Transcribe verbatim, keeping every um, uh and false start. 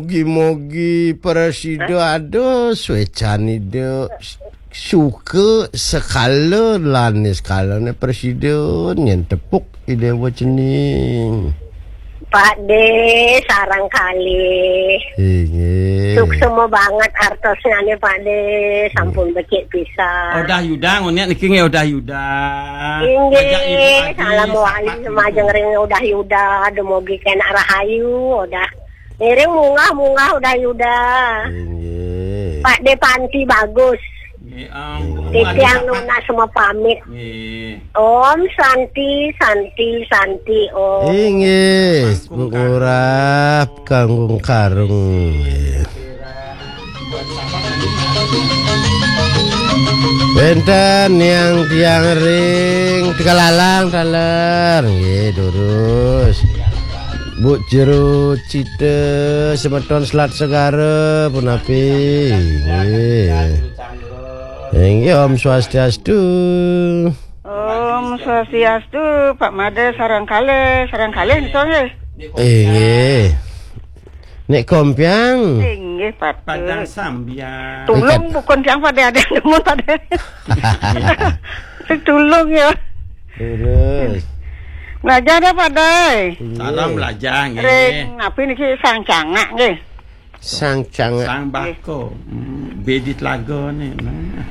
Mugi-mugi prasida ada swécanida suka sekala lan niskala né prasida nyén tepuk Ida Déwa Cening. Pak Dé, sareng kalih. Inggih. Suksma banget artosnyané, Pak Dé. Sampun becik pisan. Odah Yuda, ngonék niki nggih Odah Yuda. Inggih, salam wali semajeng ring Odah Yuda, dumugi kénak rahayu, Odah. Ngiring munggah-munggah Odah Yuda. Inggih. Pak Dé Panti bagus. Nggih, Om. Titiang nunas semua pamit. Nggih. Om Santi, Santi, Santi, Om. Inggih, Bu Ngurah, Kanggung Karung. Nggih. Wénten yang tiang ring Tegalalang taler. Nggih, durus. Bu Jero Cita, semeton Selat Segara, punapi. Nggih. Inggih, Om Swastiastu. Om Swastiastu, Pak Made, sareng kalih, sareng kalih nika nggih. Inggih. Nek Kompiang. Inggih, Pak. Padang Sambiang. Tulung pun tiang pada ada nemu pada. Sing tulung ya. Terus. Belajar ya, Pak Dai. Salam belajar nggih. Ring napi niki Sang Cangak nggih. Sang Cangak. Sang Bako. Hmm, Bedi Telaga ni. Nah.